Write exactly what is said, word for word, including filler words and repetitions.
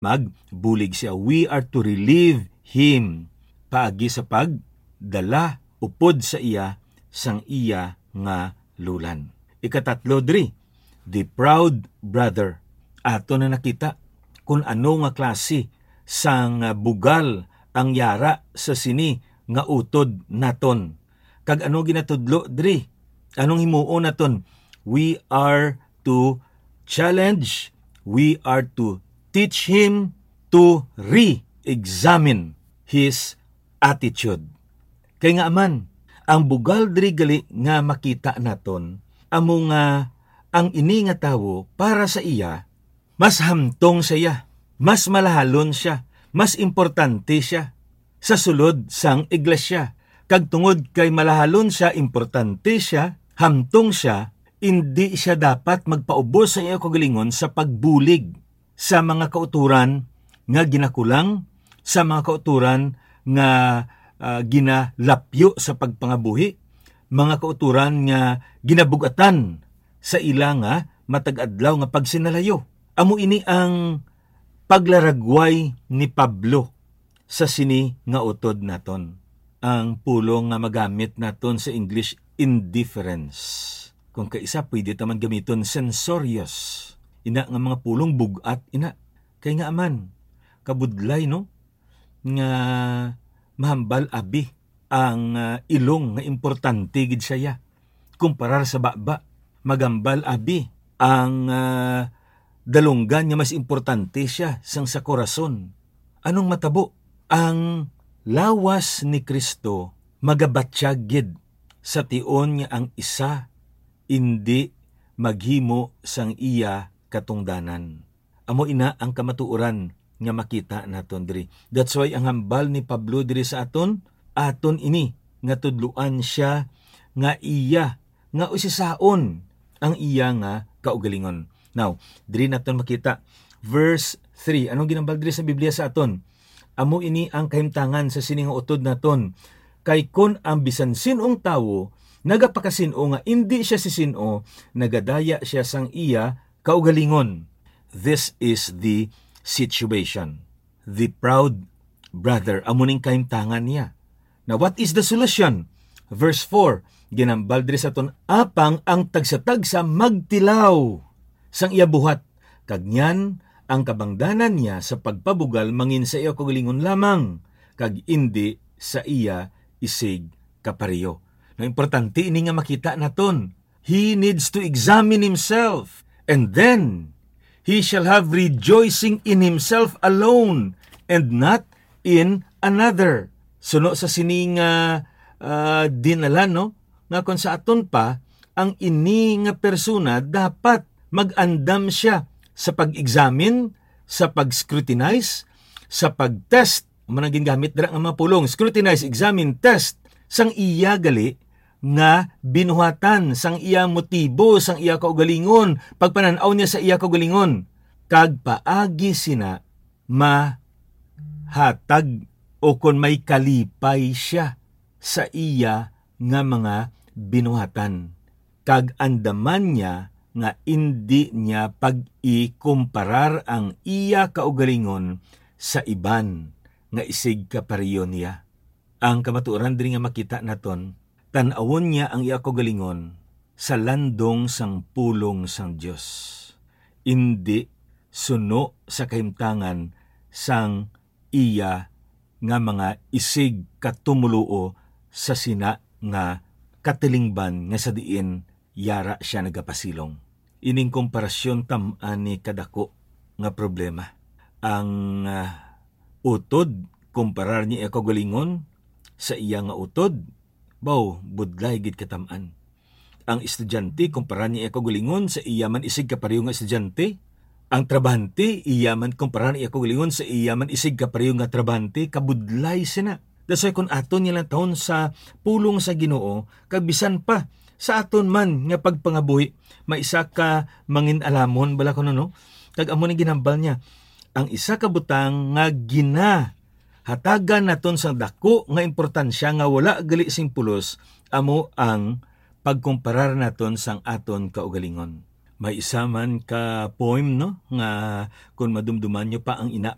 magbulig siya. We are to relieve him paagi sa pagdala upod sa iya sang iya nga lulan. Ikatatlo diri, the proud brother. Ato na nakita kung ano nga klase sang, ah, bugal ang yara sa sini nga utod naton. Kag ano ginatudlo diri? Anong himuon naton? We are to challenge, we are to teach him to re-examine his attitude. Kay nga man, ang bugal diri gali nga makita naton, amo nga ang ini nga tawo, para sa iya, mas hamtong sa iya, mas malahalon siya, mas importante siya sa sulod sang iglesia. Kag tungod kay malahalon siya, importante siya, hamtong siya, indi siya dapat magpaubos sa iya kaugalingon sa pagbulig sa mga kautoran nga ginakulang, sa mga kautoran nga, ah, ginalapyo sa pagpangabuhi, mga kautoran nga ginabug-atan sa ila nga matag adlaw nga pagsinalayo. Amo ini ang paglaragway ni Pablo sa sini nga utod naton. Ang pulong nga magamit naton sa English, indifference. Kung kaisa, pwede ta man gamiton, censorious. Ina nga mga pulong bug-at, ina. Kay nga man, kabudlay, no? Nga mahambal abi ang, ah, ilong nga importante gid sa iya kumparar sa baba. Magambal abi ang, ah, dalunggan nga mas importante siya sang sa korason. Anong matabo? Ang lawas ni Cristo magabatyag gid sa tion nga ang isa indi maghimo sang iya katungdanan. Amo ina ang kamatuoran nga makita naton diri. That's why ang hambal ni Pablo diri sa aton, aton ini nga tudloan siya nga iya, nga usisaon ang iya nga kaugalingon. Now, diri naton makita, verse three. Anong ginambal diri sa Biblia sa aton? Amo ini ang kahimtangan sa sini nga utod naton. Kay kon ang bisan sin-ong tawo nagapakasin-o nga indi siya si sin-o, nagadaya siya sang iya kaugalingon. This is the situation. The proud brother, amo ning kahimtangan niya. Now, what is the solution? Verse four, ginambal diri sa aton, apang ang tagsa-tagsa magtilaw sang iya buhat, kag niyan ang kabangdanan niya sa pagpabugal mangin sa iya kaugalingon lamang, kag indi sa iya isig kapareho. Now, importante ini nga makita naton. He needs to examine himself, and then he shall have rejoicing in himself alone and not in another. Suno sa sini nga, ah, dinala, no, nga kon sa aton pa, ang ini nga persona dapat mag-andam siya sa pag-examine, sa pag-scrutinize, sa pag-test. Amo nang gingamit dira nga mga pulong, scrutinize, examine, test, sang iya gali nga binuhatan, sang iya motibo, sang iya kaugalingon, pagpanan-aw niya sa iya kaugalingon, kag paagi sina mahatag o kon may kalipay siya sa iya nga mga binuhatan, kag andaman niya nga indi niya pag-ikumparar ang iya kaugalingon sa iban nga isig kapareho niya. Ang kamatuoran diri nga makita naton, tan-awon niya ang iya kaugalingon sa landong sang pulong sang Dios, indi suno sa kahimtangan sang iya nga mga isig katumoluo sa sina nga katilingban nga sa diin yara sia nagapasilong. Ining komparasyon tam-an ni kadako nga problema. Ang, ah, utod, kumparar niya iya kaugalingon sa iya nga utod, baw, budlay gid katam-an. Ang estudyante, kumparar niya iya kaugalingon sa iya man isig kapareho nga estudyante. Ang trabahante, iya man, kumparar niya kaugalingon sa iya man isig kapareho nga trabahante, kabudlay sina. That's why, kung aton niya lang taon sa pulong sa Ginoo, kag bisan pa sa aton man nga pagpangabuhi, may isa ka mangin-alamon bala kuno, no? Kag amo ni ginhambal niya, ang isa ka butang nga ginahatagan naton sang dako nga importansya nga wala gali sing pulos, amo ang pagkumparar naton sang aton kaugalingon. May isa man ka poem, no, nga kung madumduman nyo pa ang ina